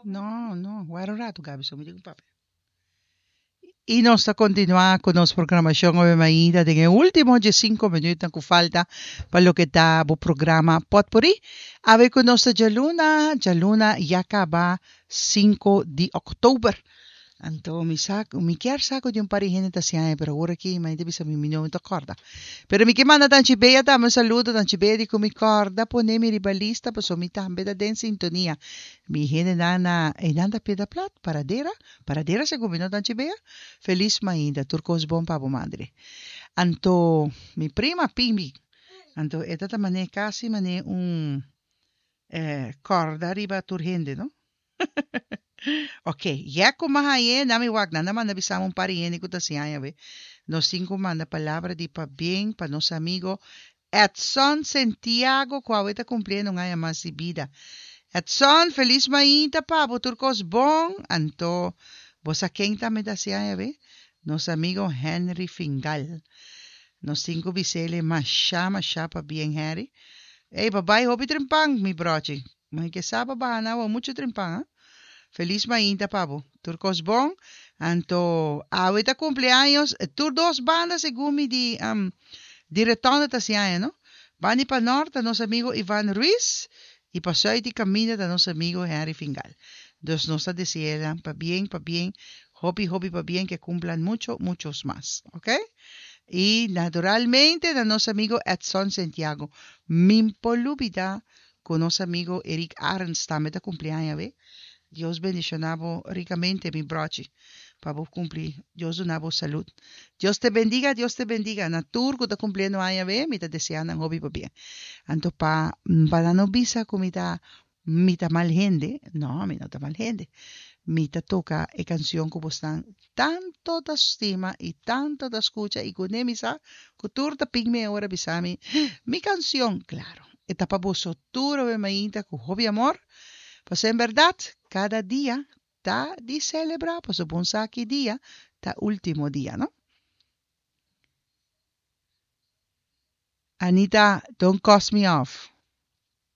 No, no, wara un ratu Gaby, so mi tin ku papia. I nos ta kontinuá ku nos programashon awe mainta den e último diesinko minütnan ku falta pa loke ta bo programa Pòtpurrí. Awe ku nos ta djaluna, djaluna ya kaba sinku di òktober. Anto mi sa ku mi kier sa ku di un par di hende ta hasi aña pero awor aki mi ta bisa mi mi no ta kòrda. Pero mi ke manda Tanchi Bea tambe un saludo, Tanchi Bea di ku mi kòrda pone mi riba lista pasobra mi tambe ta den sintonia. Mi hendenan na einan ta Piedra Plat, Paradera, Paradera segun mi no Tanchi Bea? Felis mainta, tur kos bon pa bo madre. Anto mi prima Pimbi, anto e ta ta manera kasi manera un kòrda riba tur hende no. Ok, ya ku m'a hañ'é, nan mi wak, nan a manda bisa mi un par di hende ku ta hasi aña awe. Nos tin ku manda palabra di pabien pa nos amigo Edson Sentiago ku awe ta kumpliendo un aña mas di bida. Edson, felis mainta pa bo, tur kos bon. Anto, bo sa ken tambe ta hasi aña awe? Nos amigo Henry Fingal. Nos tin ku bis'el masha masha pabien, Henry. Ey, bo bai hopi trimpan, mi brochi. Mai ke sa pa baha na awa muchu trimpan ha. Felis mainta pa bo. Tur kos bon. Anto awe ta kumpleaños tur dos banda segun mi di di Retonda ta hasi aña no. Banda di pa nort ta nos amigo Ivan Ruiz y pa suid di kaminda ta nos amigo Henry Fingal. Dus nos ta desea nan pabien pabien hopi hopi pabien ke kumplan mucho muchos mas ok. Y naturalmente na nos amigo Edson Sentiago. Min por lubida Ku nos amigo Eric Arends tambe ta kumpli aña awe. Dios bendiciona bo ricamente mi brochi pa bo kumpli Dios duna bo salud. Dios te bendiga Dios te bendiga na tur ku ta kumpliendo aña awe mi ta desea nan hopi pabia. Anto pa pa nan no bisa ku mi ta mi ta mal hende no mi no ta mal hende mi ta toka e kansion ku bosnan tanto ta stima i tanto ta skucha i ku ne mi sa ku tur ta pin mi e ora bisa mi mi kansion klaro e ta pa boso tur awe mainta ku hopi amor pasobra en bèrdat kada dia ta di selebrá pasobra bon sa ki dia ta ultimo dia no. Anita don't cuss me off.